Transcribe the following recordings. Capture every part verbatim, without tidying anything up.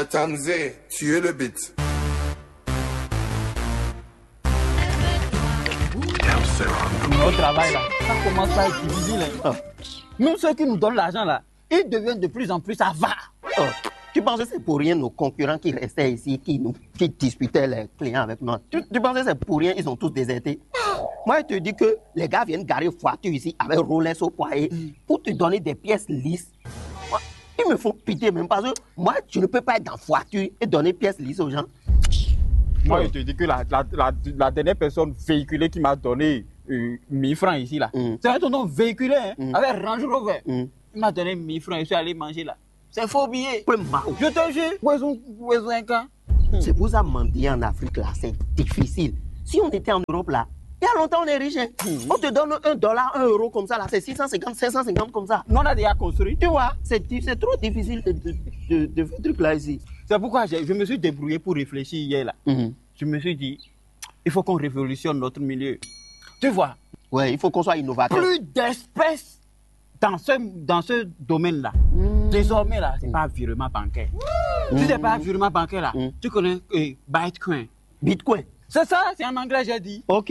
Tamzé, tu es le beat. Au travail là, ça commence à être difficile, hein. Même ceux qui nous donnent l'argent là, ils deviennent de plus en plus avares. Oh, tu penses que c'est pour rien nos concurrents qui restaient ici, qui, nous, qui disputaient les clients avec nous? Tu, tu penses que c'est pour rien ils ont tous déserté? Moi, je te dis que les gars viennent garer voiture ici avec Rolex au poignet pour te donner des pièces lisses. Ils me font pitié même parce que moi, je ne peux pas être dans voiture et donner pièces lisses aux gens. Moi, je te dis que la, la, la, la dernière personne véhiculée qui m'a donné euh, mille francs ici, là, c'est un tonton véhiculé, hein, avec Range Rover. Il m'a donné mille francs, je suis allé manger là. C'est faux billet. Je te jure. Où est-ce, où est-ce un camp? C'est pour ça mendier en Afrique là, c'est difficile. Si on était en Europe là, il y a longtemps on est riche, hein. On te donne un dollar, un euro comme ça là, c'est six cent cinquante, cinq cent cinquante comme ça. Nous on a déjà construit. Tu vois, c'est di- c'est trop difficile de, de, de, de faire truc là ici. C'est pourquoi j'ai- je me suis débrouillé pour réfléchir hier là. Je me suis dit, il faut qu'on révolutionne notre milieu. Tu vois, Ouais, il faut qu'on soit innovateur. Plus d'espèces dans ce, dans ce domaine-là. Désormais, là, c'est pas virement bancaire. Si c'est pas virement bancaire, là, tu connais euh, Bitcoin. Bitcoin. C'est ça, c'est en anglais, j'ai dit. Ok.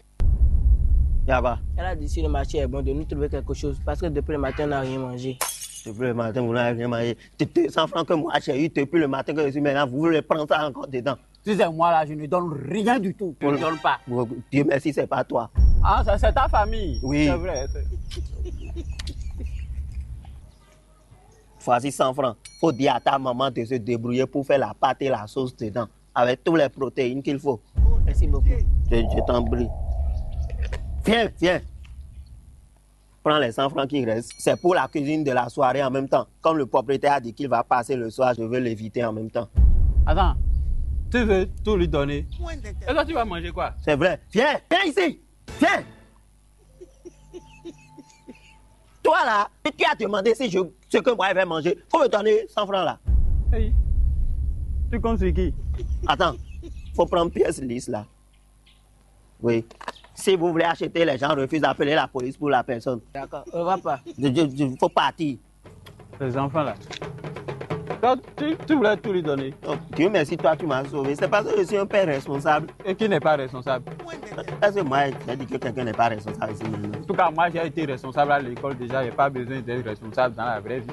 Yaba. Elle a dit si le marché est bon, de nous trouver quelque chose parce que depuis le matin, on n'a rien mangé. Depuis le matin, vous n'avez rien mangé. Deux cents francs que moi j'ai eu depuis le matin que je suis maintenant, vous voulez prendre ça encore dedans. Si c'est moi là, je ne donne rien du tout. Je ne donne pas. Bon, Dieu merci, c'est pas toi. Ah, ça, c'est ta famille. Oui. C'est vrai. c'est- Voici cent francs. Faut dire à ta maman de se débrouiller pour faire la pâte et la sauce dedans, avec toutes les protéines qu'il faut. Merci beaucoup. Je, je t'en prie. Viens, viens. Prends les cent francs qui restent. C'est pour la cuisine de la soirée en même temps. Comme le propriétaire a dit qu'il va passer le soir, je veux l'éviter en même temps. Attends, tu veux tout lui donner. Et toi, tu vas manger quoi? C'est vrai. Viens, viens ici. Viens. Toi là, tu as demandé si je, ce que moi je vais manger. Faut me donner cent francs là. Hey, tu comptes sur qui? Attends, faut prendre pièce lisse là. Oui. Si vous voulez acheter, les gens refusent d'appeler la police pour la personne. D'accord, on va pas. Il faut partir. Les enfants là. Donc, tu, tu voulais tout lui donner. Oh, Dieu merci, toi tu m'as sauvé. C'est parce que je suis un père responsable. Et qui n'est pas responsable? Est-ce que moi j'ai dit que quelqu'un n'est pas responsable ici maintenant? En tout cas, moi j'ai été responsable à l'école déjà, j'ai pas besoin d'être responsable dans la vraie vie.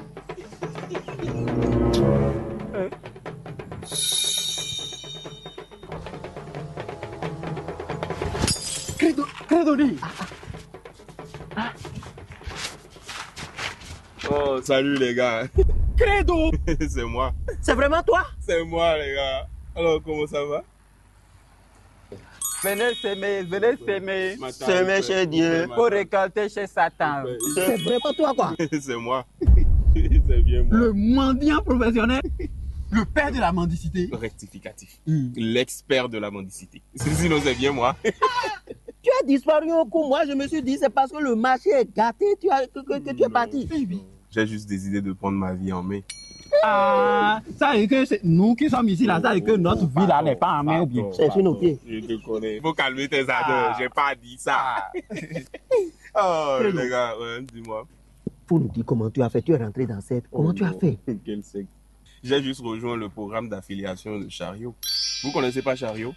Credo, Credo dit. Oh, salut les gars. Credo. C'est moi. C'est vraiment toi? C'est moi les gars. Alors, comment ça va? Venez s'aimer, venez s'aimer. S'aimer chez Dieu. Pour récolter chez Satan. C'est vraiment toi quoi? C'est moi. C'est bien moi. Le mendiant professionnel. Le père de la mendicité. Rectificatif. L'expert de la mendicité. Sinon, c'est bien moi. Tu as disparu au coup. Moi, je me suis dit, c'est parce que le marché est gâté tu as, que, que- que tu es parti. J'ai juste décidé de prendre ma vie en main. Ah, ça veut dire que c'est nous qui sommes ici là, ça veut dire que notre vie là n'est pas en main ou bien. C'est sur nos pieds. Je te connais. Il faut calmer tes ardeurs. J'ai pas dit ça. Oh, les gars, ouais, dis-moi. Faut nous dire comment tu as fait. Tu es rentré dans cette. Comment tu as fait? Quel secte. J'ai juste rejoint le programme d'affiliation de Chariot. Vous connaissez pas Chariot?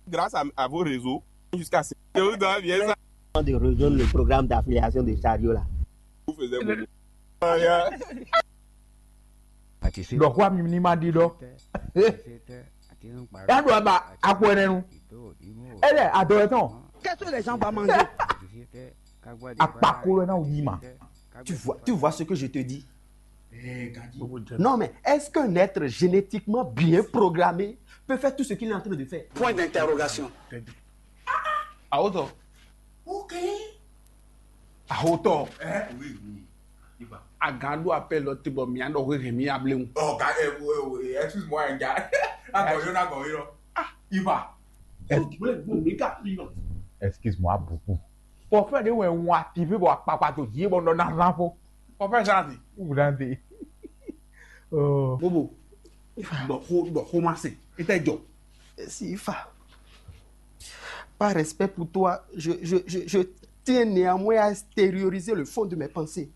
Grâce à, à vos réseaux, jusqu'à ce que vous dois bien ça. De rejoindre le programme d'affiliation de Chariot là. Vous faisiez beaucoup. Ɖɔ xó ami ní ma ɖi ɖɔ. Yá ɖo aba akpɔ ɛnɛ nu. Ele adɔ etɔn. Qu'est-ce que les gens vont manger? Akpakolo ena wò yí ma. Tu vois, tu vois ce que je te dis? Non, mais est-ce qu'un être génétiquement bien programmé peut faire tout ce qu'il est en train de faire? Point d'interrogation. Ahotɔ. Ok. Ahotɔ. Eh, oui, oui. Il va. Agan ɖo apɛl lɔ te bɔ mia ɖɔ hwehwɛ mi ableŋu. Oh, gars, eh, oh, oh, eh, excuse-moi, hein, gars. Agɔyɔ na gɔyɔ. Ah, il va. Excuse-moi beaucoup. Forfait ɖe wɛ ŋun ati fí bɔ akpakpa to dzi bɔ nɔ na zan fo. Forfait zan di. Wúlande. Bobo, ɖɔ xó ɖɔ xó ma se. Ete jɔ. Sifa. Par respect pour toi, je, je, je, je tiens néanmoins à extérioriser le fond de mes pensées.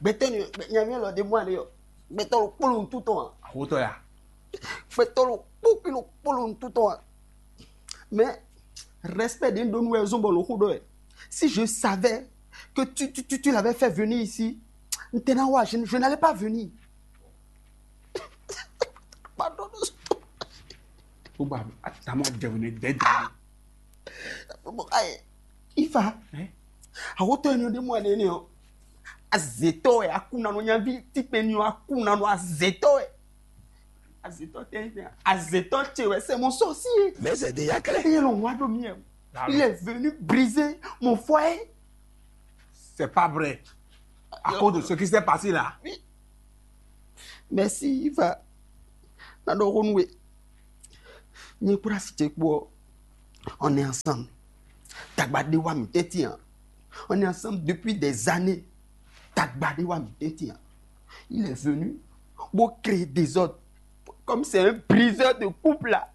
Gbɛtɔ ni nyamia lɔ de mɔ ale yɔ. Gbɛtɔ lo kpolo ŋututɔ. Xotɔ ya. Fetolo kpókpilo kpolo ntutɔ a. Mais respect ɖe ɖo nu wɛ zɔn bɔ lɔ xo ɖɔ ɛ. Si je savais que tu, tu, tu, tu l'avais fait venir ici, n tɛ na wa, je, je n'allais pas venir. Pardon. Gbogbo atama jẹun ne dɛdɛ. Bon, ayi, Ifa. Hein? Awotɔ ni de mo ne ne o. Azetɔ ɛ akunanu nyavi tikpe ni o akunanu azetɔ ɛ. Azetɔ tɛ tɛ azetɔ tse wɛ c'est mon sorcier. Mais c'est déjà clair. Et l'on voit de mieux. Il est venu briser mon foyer. C'est pas vrai. À cause de ce qui s'est passé là. Oui. Merci Ifa. Na ɖɔ xó nú we. Nyɛ kpó asi ce kpó ɔ́, on est ensemble. Tagba ɖé wá mǐ tɛ́ntin ǎ. On est ensemble depuis des années. Tagba ɖé wá mǐ tɛ́ntin ǎ. Il est venu bó créer désordre. Comme c'est un briseur de couple là.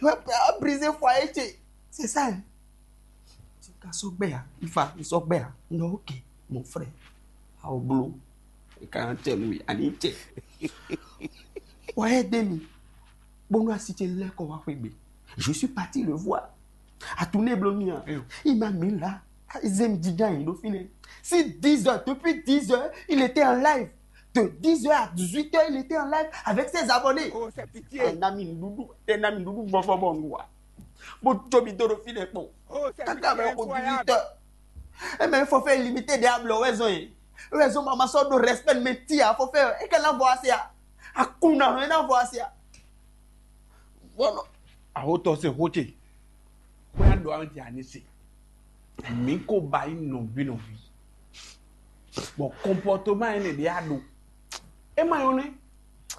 Il va briser foyer ce. C'est ça, hein. Ti ka sɔ́ gbɛ ya, Ifa, un sɔ́ gbɛ ya. Un ɖɔ ok, mon frère. Awo bló. E ka nɔ tɛ nú mi, ani tɛ. Wá ɛ dé mi. Bónú asi ce lɛ́ kɔ wá xwé gbe. Je suis parti le voir. À tourner bló mi hein. Il m'a mis là. Zem djidjan yi ɖo fínɛ́. Si dix heures, depuis dix heures, il était en live. De dix heures à dix-huit heures, il était en live avec ses abonnés. Oh, c'est pitié. Ɛ na mi nuɖuɖu, ɛ na mi nuɖuɖu vɔvɔ bɔ nu wa. Bó jó mi dó ɖo fínɛ́ kpɔn. Oh, c'est pitié. Kaka mɛ ko dix-huit heures. Ɛ mɛ fɔ fɛ limité de ablɔ wɛ zɔn ye. Wɛ zɔn ma ma sɔ ɖo respect mɛ ti a fɔ fɛ. E ka na vɔ asia. Akuna hɔn e na vɔ asia. Bɔnɔ. Ahotɔ se xo ce. Xwe a ɖo an ti ani se. Mi ko ba yi nɔvi nɔvi. Bɔ comportement ene ɖe a ɖo. E ma yɔn nɛ.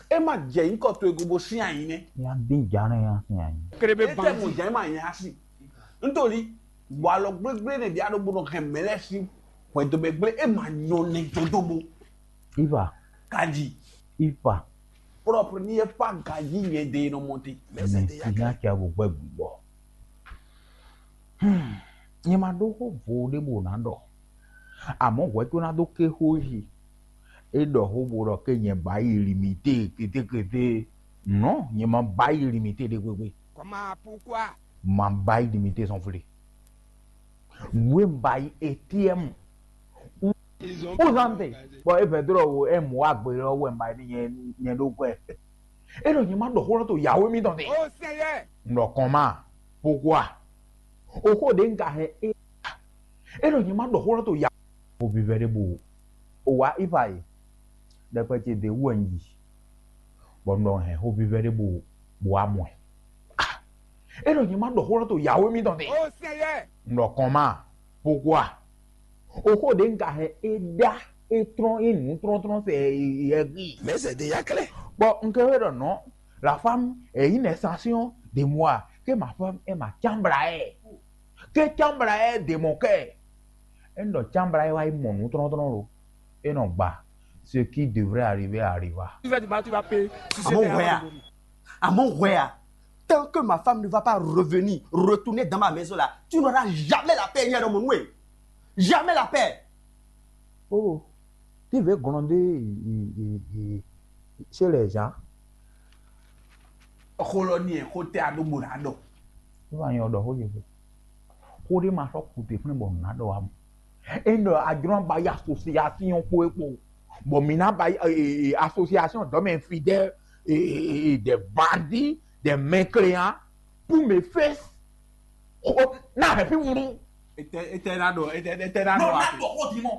E ma jɛ nyikɔ to ego bo sin ayi nɛ. Ya dín jánɛ ya sin ayi. Kéré bɛ e tɛ mo jɛ ma nya si. Nítorí bɔ alɔ gbégbé ne ɖe a ɖo bo nɔ hɛn mɛ lɛ si. Hwɛndo bɛ gblé e ma nyɔ nɛ jodo bo. Iva. Kaji. Iva. Propre ni e pa gaji nyɛ de nɔ monte. Mɛ si nya kia bo gbɛ gbɔ. Hmm. Nyɛ ma ɖó xó vo ɖé bo ná ɖɔ. Amɔ̌ hwɛ tó ná dó ké xó yi. É ɖɔ xó bo ɖɔ ké nyɛ ba yi limité kétékété. Non, nyɛ ma ba yi limité ɖé gbégbé. Comment, pourquoi? Ma ba yi limité sɔn flé. Nǔ e un ba yi A T M. Uzante. Bon, e vɛdrɔ wo e mu wa gbe lɔ wɛ un ba yi ni nyɛ nyɛ ɖo gbɛ. E nɔ nyɛ ma ɖɔ xó lɔ to yawe mi tɔn te. Oh Seigneur. Un ɖɔ kɔn ma. Pourquoi? O xó ɖe un ka hɛn e. E nɔ nyɛ ma ɖɔ xó lɔ to yawe. O vivɛ ɖe bo o wa ifa yi. Ɖɛkpɛ ce de wu wɛ un yi. Bɔ un ɖɔ hɛn xó vívɛ́ ɖé bo bo wá mɔ ɛ. Ah! É ɖɔ nyɛ ma ɖɔ xó lɔ to yawe mitɔn tɛn. Oh Seigneur! Un ɖɔ kɔn ma, pourquoi? O xó ɖě un ka hɛn é ɖá é trɔ́n é nǔ trɔ́ntrɔ́n sɛ ɛgí. Mais c'est déjà clair. Bon, un kɛ wé ɖɔ non, la femme est une extension de moi, que ma femme est ma chambre à air. Que chambre à air de mon cœur. É nɔ chambre à air wá yi mɔ nǔ trɔ́ntrɔ́n lo. É nɔ gba. Ce qui devrait arriver arriva. Tu vas, tu vas, tu vas payer. Tu sais, Amon t'es where? Amon where? Tant que ma femme ne va pas revenir, retourner dans ma maison là, tu n'auras jamais la paix, Yadon Monoué. Jamais la paix. Oh, tu veux gronder i- i- i- chez les gens? Xó lɔ ní ɛ xó tɛ aɖó bo ná ɖɔ. Wọ́n á nyɔ ɖɔ xó yě xó. Xó ɖé ma sɔ́ kute fún bɔ nǔ ná ɖɔ wá mɔ. É ɖɔ ajlɔ́n ba yi association kpó é kpó. Bɔ mǐ ná ba yi eh, eh, association d'hommes infidèles, eh, eh, eh, des bandits, des mécréants, pour me faire. Oh, na happy wuru. Ete ete na ɖo ete ete na ɖo ati.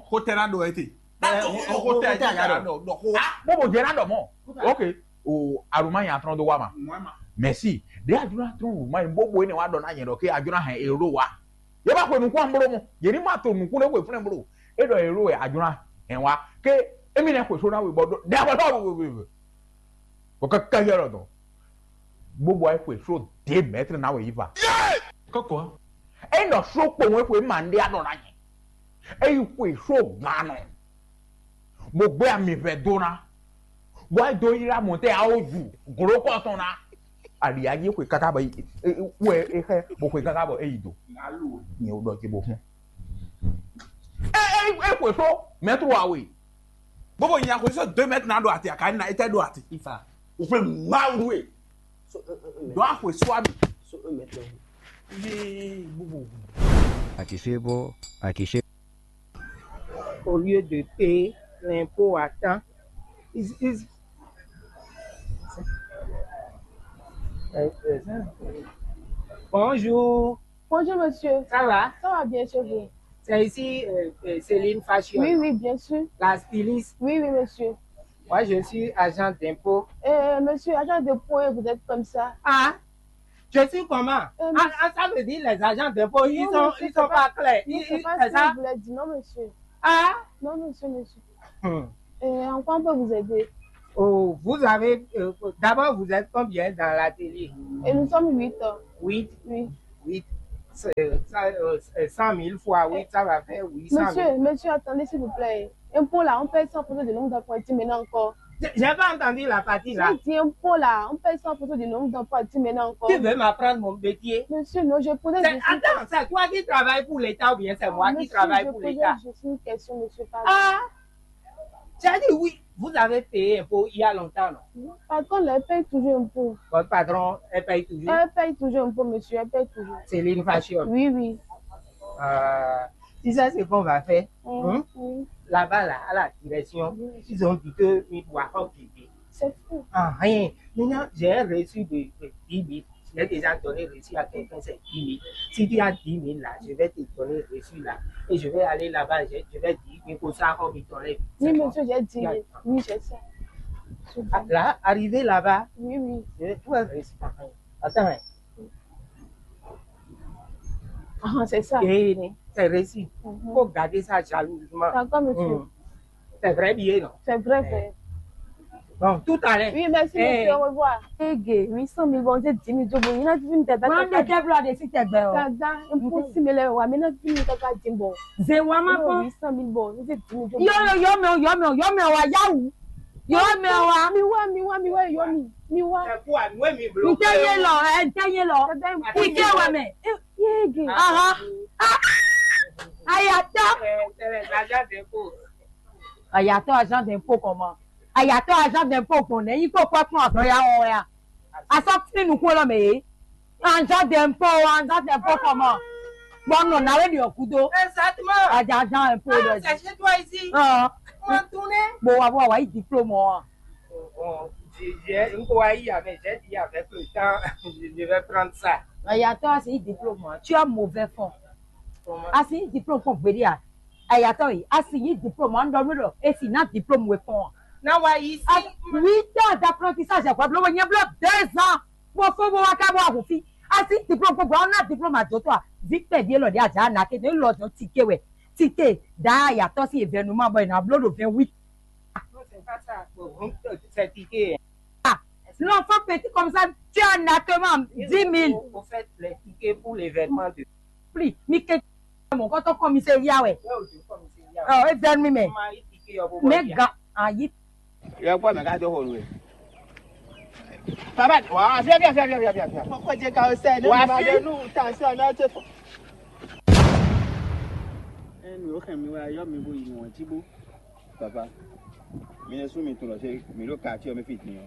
Xó tɛ na ɖo ete. Xó tɛ na ɖo ɖɔ xó. Bó bó jẹ na ɖɔ mɔ. Ok. O aruma yẹn atɔn do wa ma. Mɛsi. De adúlá tún wù má yín bó bó yín wá dɔn náà yẹn dɔ ké adúlá hɛn èrò wa. Yẹ bá xwe nukún amúlò mɔ. Yẹ ní má to nukún lé xwe fúnlẹ̀ múlò. É dɔ èrò wẹ̀ adúlá hɛn wa. Ké émi nɛ xwe só náà wì bɔ dó. Dẹ́ abọ́ náà wò wò wò. Bɔ kɛkɛ yɛ lɔ dɔn. Gbogbo ayé xwe só dé mɛtiri náà wò yí va. Kɔkɔ. É nɔ só kpowun é xwe má ndé adɔ náà yẹn. É yí xwe só gán nɔ. Bó gbé ami vɛ dó ná. Bó é dó ylá mɔ̌ tɛ́ awo ju glǒkɔ tɔn ná. Alǐyá yí xwe káká bɔ wɛ é xɛ bó xwe káká bɔ é yi do. Nyɛ wò ɖɔ ce bó fún. É é é xwe só mɛtro awe. Bó bó nya xwe só deux mètres ná ɖo ati aka ná étɛ́ ɖo ati. Ifa. Vous voulez m'enrouer. Donc, à quoi soit. Yee, bobo. Akisebo, akise. Au lieu de payer l'impôt à temps, ils, ils... Bonjour. Bonjour, monsieur. Ça va? Ça va bien chez vous? C'est ici, euh, euh, Céline Fashion. Oui, oui, bien sûr. La styliste. Oui, oui, monsieur. Moi, je suis agent d'impôt. Euh, monsieur, agent d'impôt, et vous êtes comme ça. Ah, je suis comment? Euh, ah, ah, ça veut dire les agents d'impôt, ils sont, ils sont pas clairs. Ils, ils, c'est ça? Vous voulez dire. Non, monsieur. Ah? Non, monsieur, monsieur. Hmm. Euh, en quoi on peut vous aider? Oh, vous avez, euh, d'abord, vous êtes combien dans l'atelier? Et nous sommes huit. Huit? Oui. Huit. C'est, ça, euh, c'est cent mille fois huit, ça va faire huit cent mille. Monsieur, monsieur, attendez, s'il vous plaît. Impôt là, on paye ça en fonction du nombre d'emprunteurs maintenant encore. J'ai pas entendu la partie là. J'ai dit impôt là, on paye ça en fonction du nombre d'emprunteurs maintenant encore. Tu veux m'apprendre mon métier? Monsieur, non, je posais juste... Attends, c'est toi qui travailles pour l'État ou bien c'est moi qui travaille pour l'État? Monsieur, je posais juste une question, monsieur, pardon. Ah! Tu as dit oui, vous avez payé impôt il y a longtemps, non? Patron, elle paye toujours impôt. Votre patron, elle paye toujours? Elle paye toujours impôt, monsieur, elle paye toujours. Céline Fashion. Oui, oui. Euh, tu sais ce qu'on va faire? Hein? Oui. Là-bas, là, à la direction, ils ont dit que mi doit pas quitter. C'est fou. Ah, rien. Maintenant, j'ai un reçu de, de dix mille. Je l'ai déjà donné reçu à quelqu'un, c'est dix mille. Si tu as dix mille là, je vais te donner reçu là. Et je vais aller là-bas, je, je vais dire que ça, on me donne. Oui, monsieur, j'ai dit. Oui, j'ai ça. Ah, là, arrivé là-bas, oui, oui, je vais tout reçu. Attends, hein. Ah, c'est ça. Et c'est reçu. Mhm. Faut garder ça jalousement. D'accord, monsieur. Hmm. C'est vrai billet, non? C'est vrai, vrai. Bon, tout à l'heure. Oui, merci, monsieur, au revoir. Ege, huit cent mille bɔ, n tɛ dix mille jó bɔ, n ná dín mi dada. Wọn de tɛ blɔ de si tɛ gbɛ o. Dada, n kú sí mi lɛ wa, mi ná dín mi dada dín bɔ. Ze wa ma kɔ. Huit cent mille bɔ, n tɛ dín mi jó bɔ. Yɔ yɔ yɔ mɛ o, yɔ mɛ o, yɔ mɛ o wa yawu. Yɔ mɛ o wa. Mi wa, mi wa, mi wa, yɔ mi, mi wa. Ẹ kú àánú èmi bló. N tɛ yé lọ, ẹ n tɛ yé lọ. Dada, n kú. Ike wa mɛ. Yege. Aha. Ayatɔ. Ẹ, ẹ, ẹ, agent d'impôt. Ayatɔ agent d'impôt comment? Ayatɔ agent d'impôt gbɔn nɛ yi kó kpɔ́ kpɔ́n azɔn ya wɔn ya. Asɔ tí nukun lɔ mɛ yé. Agent d'impôt, agent d'impôt comment? Bon non, na wé di okudo. Exactement. Agent, agent impôt. Ah, c'est chez toi ici. Ah. Comment tourner? Bon, wa wa wa yi diplôme wa. Bon, je, je, n kò wá yí avec, j'ai dit avec le temps, je, je vais prendre ça. Ayatɔ asi yi diplôme wa. Tu as mauvais fond. Comment? Asi yi diplôme kpɔn gbedi a. Ayatɔ yi, asi yi diplôme wa, n dɔ mi dɔ, esi na diplôme we kpɔn wa. Na wa yi si. Huit ans d'apprentissage, quoi, blo, nyɛ blo deux ans. Bó fó bó wá ká bó wá hu fí. Asi diplôme kpɔn gbɔ, na diplôme a dotɔ a. Vi kpɛ di elɔ di a ja na ke, ne lɔ dɔn tike wɛ. Tike da ayatɔ si événement bɔ e na blo do vingt-huit. Non, c'est pas ça. Bon, c'est ticket. Ah, l'enfant petit comme ça, tu as nattement dix mille. Au, au fait, les tickets pour l'événement de... Pli, mi ke mon kɔtɔ commissariat wɛ. Ouais, au commissariat. Oh, événement mais. Mais ga ayi. Yɔ kpɔ mɛ ka dó xo nue. Papa, wa fia fia fia fia fia fia. Kɔkɔ jɛ ka o sɛ ne wa ma fi de nu ta sɛ na te fɔ. Enu o kàn mi wa yɔ mi bo yi mɔ ji bo. Papa, mi ne su mi tun lɔ se mi ɖo quartier mi fi din ɔ.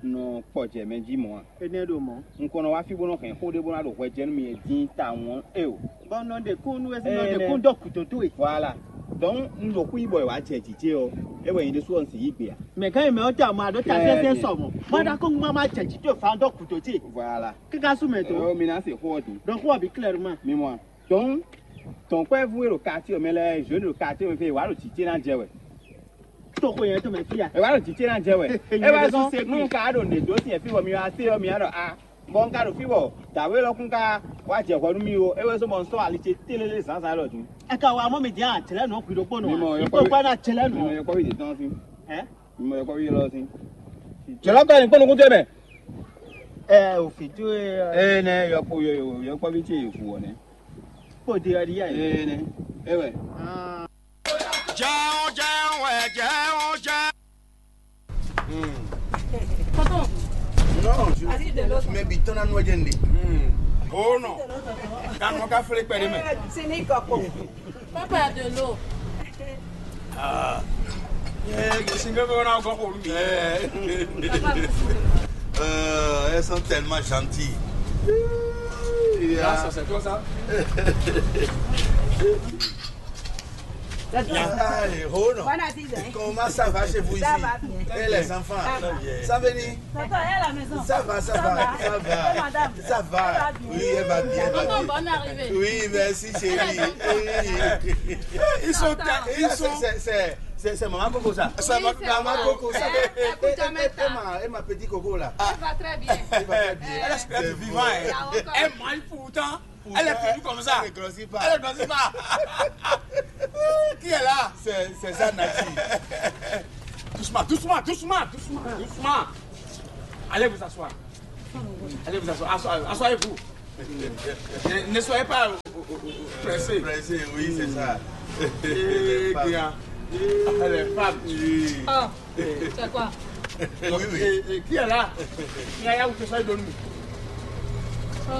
Nɔ kpɔ jɛ mɛ ji mɔ a? Enɛ ɖo mɔ. Un kɔnɔ wa fi bo nɔ hɛn xo de bo na ɖo hwɛ jɛ nu mi e din ta wɔn e o. Bɔn nɔ ɖe kún nú esi nɔ ɖe kún dɔ kuto towe. Voilà. Donc n ɖo kú yibɔ wa jɛ jijɛ ɔ, e wɛ yin ɖe su ɔ n si yi gbe a? Mɛ gán yi mɛ ɔ ta mɔ aɖo ta sɛsɛ sɔ mɔ. Mɔ ɖa ko ŋma ma jɛ jijɛ fa dɔ kuto ce. Voilà. Kika su mɛ to. Ɔ mi na se xo ɔ di. Donc xo ɔ bi clairement. Mi mɔ. Donc tɔnkpɛvu e ɖo quartier mɛ lɛ, jeune ɖo quartier mɛ fɛ wa ɖo jijɛ na jɛ wɛ. Tɔxo yẹn tó mɛ fia. E wa ɖo jijɛ na jɛ wɛ. E wa sɔn nu ka ɖo ne do si fi wɔ mi wa se ɔ mi wa ɖɔ a. Bɔ n ka ɖo fí bɔ dǎwe lɔ kún ka wá jɛ hwɛ nú mì ó, é wɛ zɔ́n bɔ un sɔ́ ali ce télélé zǎnzǎn élɔ́ din. Ɛ ka wa mɔ mi din a jlɛ nɔ gbi ɖokpó nɔ. Mi mɔ yɔkpɔ́ kpɔ́ na jlɛ nɔ. Mi mɔ yɔkpɔ́ ví yětɔn sín. Ɛ? Mi mɔ yɔkpɔ́ ví élɔ́ sín. Jɔlɔ kɔ ni kpɔ́ nukún tɛ mɛ. Ɛ o fi tó e. Ee nɛ yɔkpɔ́ yɔ yɔkpɔ́ ví ce yě fu wɔ nɛ. Kpó de ɔdi yá yìí. Ee nɛ. E wɛ. Jẹun, jẹun, ẹ jẹun, jẹun. Tonton, non, je, mais bi tɔn na nɔ jɛ nde. Oh non. Kanu ka fle kpɛ de mɛ. C'est les cocos. Papa de l'eau. Ah. Eh, single ko na go ko mi. Eh. Euh, elles sont tellement gentilles. Là, ça, c'est toi, ça? Aïe, oh non. Comment ça va chez vous ici? Ça va bien. Et les enfants? Ça va. Ça va venir? Papa est à la maison. Ça va, ça va, ça va. Et madame? Ça va. Ça va bien. Oui, elle va bien, elle va bien. Bonne arrivée. Oui, merci, chérie. Ils sont, ils sont. C'est, c'est, c'est, c'est maman Coco, ça. C'est maman Coco, ça. Et, et, et, et ma, et ma petite Coco, là. Elle va très bien. Elle va très bien. Elle est vivante, hein. Elle mange pourtant. Elle est toujours comme ça. Elle ne grossit pas. Elle ne grossit pas. Qui est là? C'est, c'est ça, Nati. Doucement, doucement, doucement, doucement, doucement. Allez vous asseoir. Allez vous asseoir. Assoyez-vous. Ne, ne soyez pas pressé. Pressé, oui, c'est ça. Eh bien. Les femmes. Oui. Ah, c'est quoi? Oui, oui. Et, et qui est là? Yaya ou que ça donne. Oh.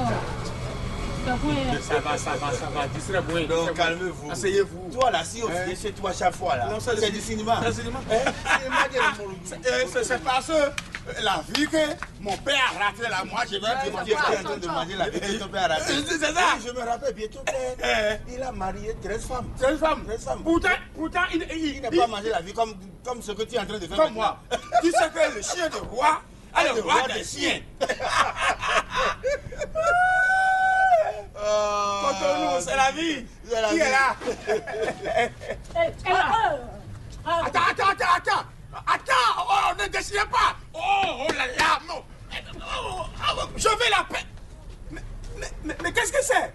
Ça va, ça va, ça va. Distribue. Donc, calmez-vous. Asseyez-vous. Toi, là, si on vient chez toi chaque fois, là, c'est du cinéma. C'est du cinéma. Hein? Cinéma de la Morogo. C'est, euh, c'est, c'est parce que, euh, la vie que mon père a raté là, moi, je vais dire, tu es en train de manger la vie que ton père a raté. C'est ça. Oui, je me rappelle bien, ton père, il a marié treize femmes. Treize femmes. Treize femmes. Pourtant, pourtant, il, il, il n'a pas mangé la vie comme, comme ce que tu es en train de faire comme moi. Tu sais que le chien de roi a le roi des chiens. Cotonou, c'est la vie. Qui est là? Attends, attends, attends, attends. Attends, oh, ne déchirez pas. Oh, oh là là, non. Oh, oh, je vais la paix. Mais, mais, mais, mais qu'est-ce que c'est?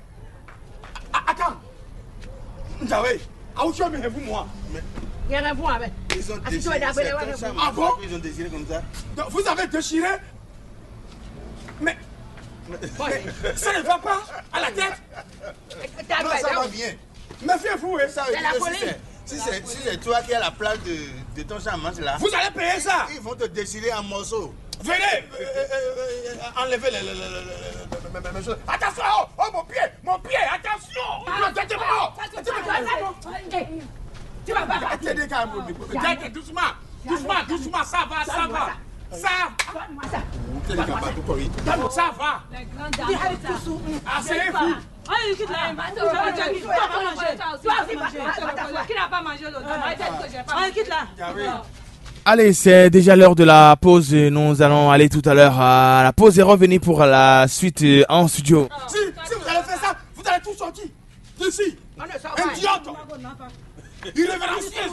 Ah, attends. Nzawé, ah, où tu as mis vous, moi? Yɛrɛ fún wa bɛ. Ils ont déchiré. Ah bon? Ils ont déchiré comme ça. Donc, vous avez déchiré? Mais, mais ça ne va pas à la tête. Non, ça va bien. Méfiez-vous, hein. Ça veut dire que si c'est, si c'est, si c'est toi qui as la place de, de ton chambre là, vous allez payer ça. Ils vont te déchirer en morceaux. Venez, euh, euh, euh, euh, enlevez les, les, les, les, les, mes, mes, mes choses. Attention, oh, oh, mon pied, mon pied, attention. Ah, non, arrêtez-moi, oh, arrêtez-moi. Tu vas pas partir. Arrêtez, arrêtez, doucement, doucement, doucement, ça va, ça va. Ça, ça va. Asseyez-vous. Qui n'a pas mangé l'autre? Arrêtez de causer, pas mangé. Allez, c'est déjà l'heure de la pause. Nous allons aller tout à l'heure à la pause et revenir pour la suite, euh, en studio. Si, si vous allez faire ça, vous allez tout sortir d'ici. Idiot. Irrévérencieux.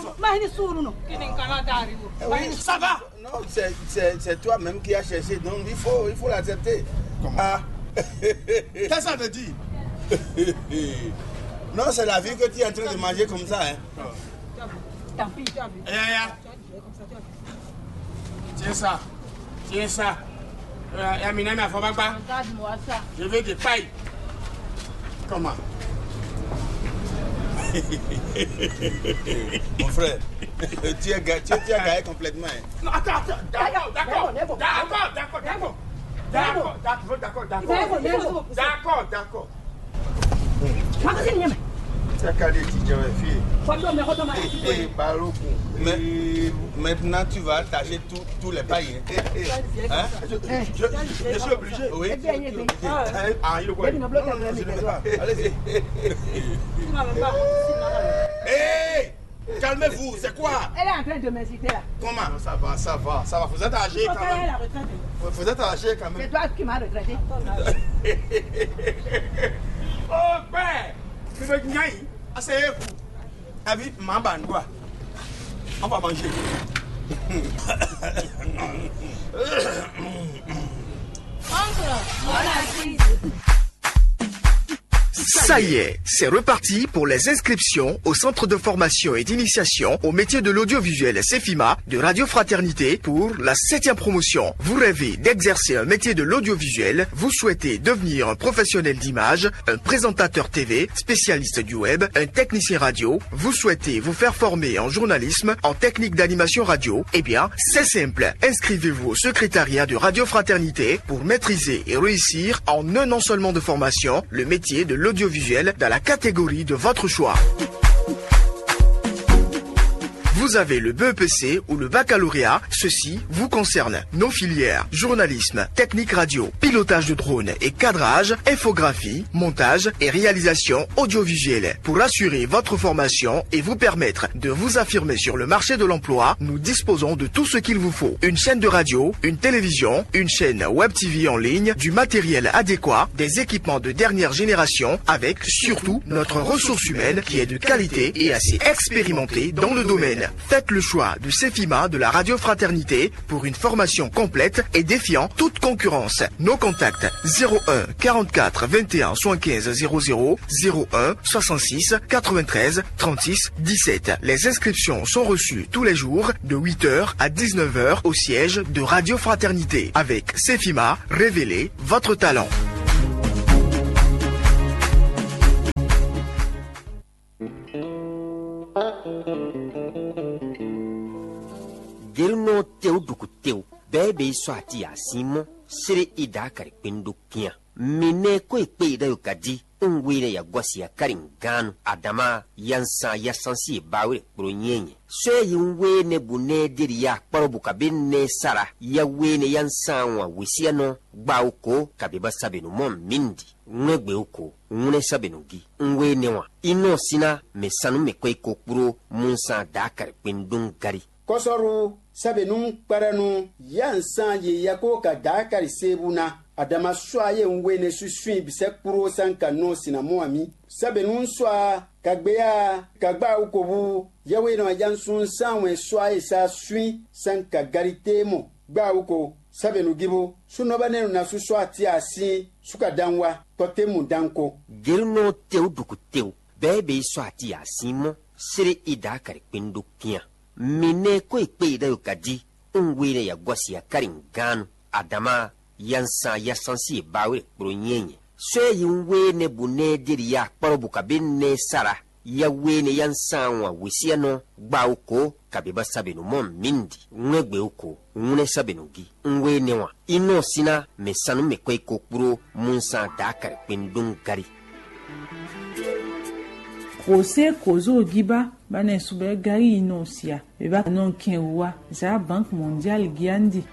Ça va? Non, c'est, c'est, c'est toi-même qui as cherché, donc il faut, il faut l'accepter. Comment? Ah. Qu'est-ce que ça veut dire? Non, c'est la vie que tu es en train de manger comme ça, hein. Tant pis. Eh, eh, eh. Tiens ça. Tiens ça. Euh, Amina, ma faut pas. Regarde-moi ça. Je veux des pailles. Comment? Mon frère, tu es ga-, tu, tu es gagné complètement, hein. Non, attends, attends. D'accord, d'accord, d'accord, d'accord, d'accord, d'accord, d'accord, d'accord, d'accord, d'accord, d'accord. Makasi ni nyɛmɛ. Cakale ti jɛ wɛ fie. Fɔtɔ mɛ xɔtɔ ma. Ee, Balogun. Mais maintenant, tu vas attacher tout, tous les pailles, hein? Hein? Je, je, je suis obligé. Oui. Ah, il est quoi? Non, non, non, je ne peux pas. Allez-y. Hey! Calmez-vous, c'est quoi? Elle est en train de m'insulter là. Comment? Non, ça va, ça va, ça va. Vous êtes âgé quand même. Vous êtes âgé quand même. C'est toi qui m'as retraité. Oh, père, tu veux gagner? Asseyez-vous. Abi, ma ban quoi? On va manger. Oncle, on a pris. Ça y est, c'est reparti pour les inscriptions au centre de formation et d'initiation au métier de l'audiovisuel, Cefima, de Radio Fraternité pour la septième promotion. Vous rêvez d'exercer un métier de l'audiovisuel? Vous souhaitez devenir un professionnel d'image, un présentateur T V, spécialiste du web, un technicien radio? Vous souhaitez vous faire former en journalisme, en technique d'animation radio? Eh bien, c'est simple. Inscrivez-vous au secrétariat de Radio Fraternité pour maîtriser et réussir en un an seulement de formation le métier de l'audiovisuel dans la catégorie de votre choix. Vous avez le B E P C ou le baccalauréat, ceci vous concerne. Nos filières, journalisme, technique radio, pilotage de drone et cadrage, infographie, montage et réalisation audiovisuelle. Pour assurer votre formation et vous permettre de vous affirmer sur le marché de l'emploi, nous disposons de tout ce qu'il vous faut. Une chaîne de radio, une télévision, une chaîne web T V en ligne, du matériel adéquat, des équipements de dernière génération, avec surtout notre ressource humaine qui est de qualité et assez expérimentée dans le domaine. Faites le choix de Cefima de la Radio Fraternité pour une formation complète et défiant toute concurrence. Nos contacts: zéro un quarante-quatre vingt et un soixante-quinze zéro zéro, zéro un soixante-six quatre-vingt-treize trente-six dix-sept. Les inscriptions sont reçues tous les jours de huit heures à dix-neuf heures au siège de Radio Fraternité. Avec Cefima, révélez votre talent. Gelunɔ tewu duku tewu, bɛɛ bɛ yi sɔ ati asin mɔ, sere i da kari kpendo kian. Mine ko ikpe i da yo kadi, un we ne ya gɔsi ya kari nganu. Adama ya nsan ya sansi e ba we kpro nyɛnyɛ. Sɔ yi un we ne bu ne de ya kparo bu kabe ne sara. Ya we ne ya nsan wa wesiya nɔ gba o ko kabe ba sabe no mɔ mindi. Ŋlɛ́gbɛ o ko, ŋlɛ́ sabe no gi. Un we ne wa. Inɔ sina me sanu me ko iko kpro mun san da kari kpendo gari. Kɔsɔru, sɛbɛnu kpɛɖɛnu, ya nsan ye yakó ka da kari sebu na. Adama sɔ ye un we ne susu bise kpro san ka nɔ sina mɔ ami. Sɛbɛnu sɔ ka gbeya ka gba ukobu. Yawe nɔ ajansun san wɛn sɔ ye sa sui san ka gari te mɔ gba uko. Sɛbɛnu gibo sunɔ ba nɛnu na susu ati asin suka dan wa kɔte mu dan ko. Gelunɔ tewu duku tewu, bɛɛ bɛ yi sɔ ati asin mɔ sere i da kari kpendo kian. Mi ne ko ikpe i da yo kadi, un we ne ya gɔsi ya kari nganu. Adama ya nsan ya sansi e ba we kpro nyɛnyɛ. Sɔ yi un we ne bu ne de ya kparo bu kabe ne sara. Ya we ne ya nsan wa wesiya nɔ gba o ko kabe ba sabe no mɔ mindi. Ŋlɛ́gbɛ o ko, ŋlɛ́ sabe no gi. Un we ne wa. Inɔ sina me sanu me ko iko kpro mun san da kari kpendo gari. Kose kozo giba bane subɛ gari inɔ sia. Beba nɔ kɛn wa za Banque Mondiale giandi.